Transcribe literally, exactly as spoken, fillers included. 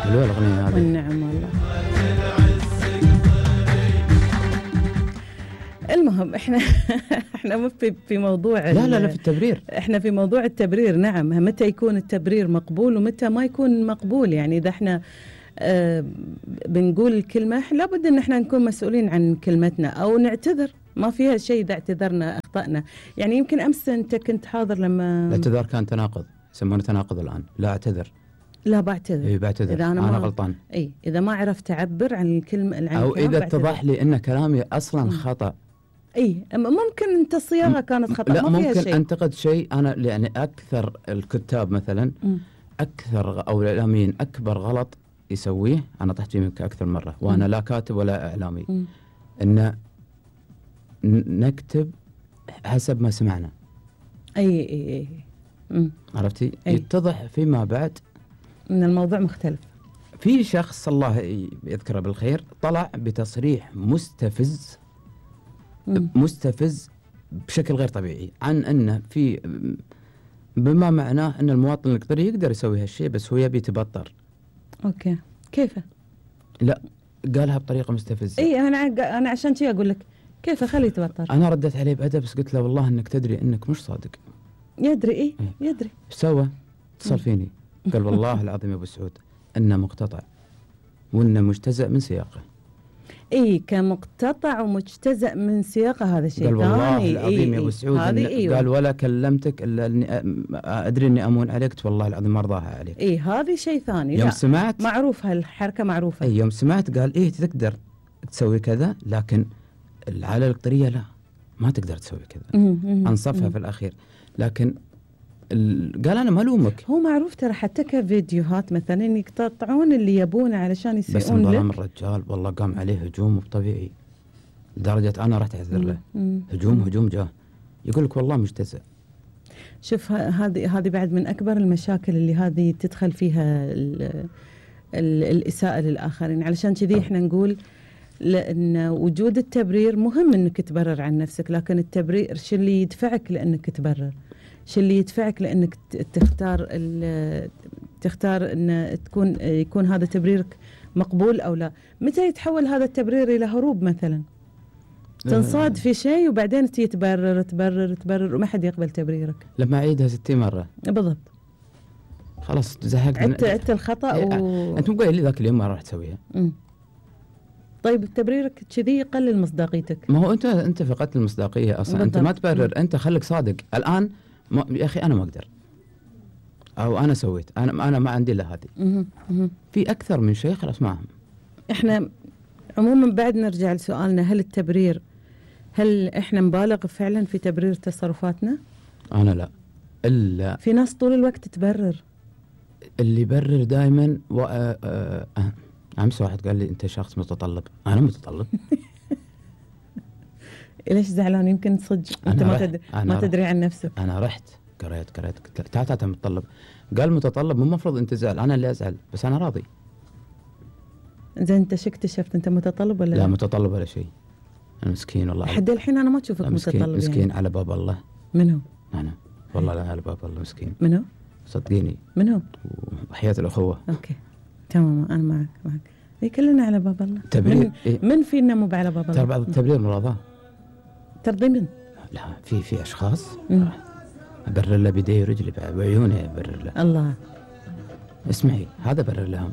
حلوة الأغنية هذه. والنعم والله. المهم احنا احنا مو في في موضوع لا لا لا في التبرير. احنا في موضوع التبرير. نعم، متى يكون التبرير مقبول ومتى ما يكون مقبول. يعني اذا احنا آه بنقول الكلمة لابد ان احنا نكون مسؤولين عن كلمتنا او نعتذر، ما فيها شيء اذا اعتذرنا اخطأنا. يعني يمكن امس انت كنت حاضر لما الاعتذار كان تناقض، يسمونه تناقض الان. لا اعتذر، لا بعتذر. اي بعتذر إذا أنا, أنا ما غلطان. اي اذا ما عرفت اعبر عن الكلمة عن او اذا اتضح لي ان كلامي اصلا خطأ. اي ممكن انت الصياغة كانت خطأ، لا ما فيها ممكن شيء. انتقد شيء انا، يعني اكثر الكتاب مثلا م. اكثر او الاعلاميين اكبر غلط يسويه، انا طحت فيه اكثر مرة وانا م. لا كاتب ولا اعلامي، م. ان نكتب حسب ما سمعنا. اي اي اي م. عرفتي؟ أي. يتضح فيما بعد ان الموضوع مختلف. في شخص الله يذكره بالخير طلع بتصريح مستفز م. مستفز بشكل غير طبيعي عن أنه في بما معناه أن المواطن القطري يقدر يسوي هالشيء بس هو يبي يتبطر. أوكي، كيف؟ لا قالها بطريقة مستفزة. إيه أنا أنا عشان شيء أقول لك كيف خليه يتبطر. أنا ردت عليه بأدب بس قلت له والله أنك تدري أنك مش صادق. يدري إيه, إيه؟ يدري. إيش سوى؟ اتصل فيني قال والله العظيم يا أبو سعود أنه مقتطع وأنه مجتزأ من سياقه. إيه كمقتطع ومجتزأ من سياقه هذا شيء ثاني. قال والله العظيم إيه يا أبو سعود إيه إيه قال ولا كلمتك إلا أني أدري أني أمون عليك والله العظيم ما أرضاها عليك. إيه هذه شيء ثاني. يوم سمعت معروف هالحركة معروفة. أي يوم سمعت قال إيه تقدر تسوي كذا لكن العائلة القطرية لا ما تقدر تسوي كذا. أنصفها في الأخير لكن قال أنا ما ألومك. هو معروف ترى حتى كفيديوهات مثلا يقتطعون اللي يبونه علشان يسيئون لك. بس انظلم الرجال والله قام عليه هجوم طبيعي لدرجة أنا رحت أعتذر له. هجوم هجوم جاه يقول لك والله مجتزأ. شوف هذه هذه بعد من أكبر المشاكل اللي هذه تدخل فيها ال ال الإساءة للآخرين. علشان كذي إحنا نقول لأن وجود التبرير مهم إنك تبرر عن نفسك، لكن التبرير شو اللي يدفعك لأنك تبرر؟ شو اللي يدفعك لأنك تختار تختار أن تكون يكون هذا تبريرك مقبول أو لا؟ متى يتحول هذا التبرير إلى هروب مثلا؟ تنصاد في شيء وبعدين تبرر تبرر تبرر وما حد يقبل تبريرك. لما أعيدها ستين مرة بالضبط خلاص زهقت. عدت عدت الخطأ إيه و... أنت مو قايل لي ذاك اليوم ما راح تسويها. م. طيب تبريرك كذي يقلل مصداقيتك. ما هو أنت أنت فقدت المصداقية أصلا. بالضبط. أنت ما تبرر. م. أنت خليك صادق الآن. ما يا أخي أنا ما أقدر أو أنا سويت أنا أنا ما عندي إلا هذه. في أكثر من شيء خلاص معهم. إحنا عموما بعد نرجع لسؤالنا هل التبرير هل إحنا نبالغ فعلا في تبرير تصرفاتنا؟ أنا لا إلا في ناس طول الوقت تبرر. اللي يبرر دائما و... آه... آه... أمس واحد قال لي أنت شخص متطلب. أنا متطلب. ليش زعلان؟ يمكن صدق أنت ما تدري ما تدري عن نفسك. أنا رحت قريت قريت تعال تعال متطلب. قال متطلب مو مفروض أنت زعل أنا اللي أزعل بس أنا راضي. زين أنت شو اكتشفت أنت متطلب ولا لا؟ لا متطلب ولا شيء. أنا مسكين والله. لحد الحين أنا ما أشوفك مسكين متطلب. مسكين يعني. على باب الله. من هو؟ أنا والله لا على باب الله مسكين. من هو؟ صدقيني. من هو؟ وحياة الأخوة. أوكي تمام أنا معك معك. إيه كلنا على باب الله. تبرير من, إيه؟ من فينا مو على باب الله؟ ترى بعض التبرير مراضاة. ترضي من؟ لا في في أشخاص أبرر له بيدي ورجلي بعيوني أبرر له. الله. اسمعي هذا برر لهم.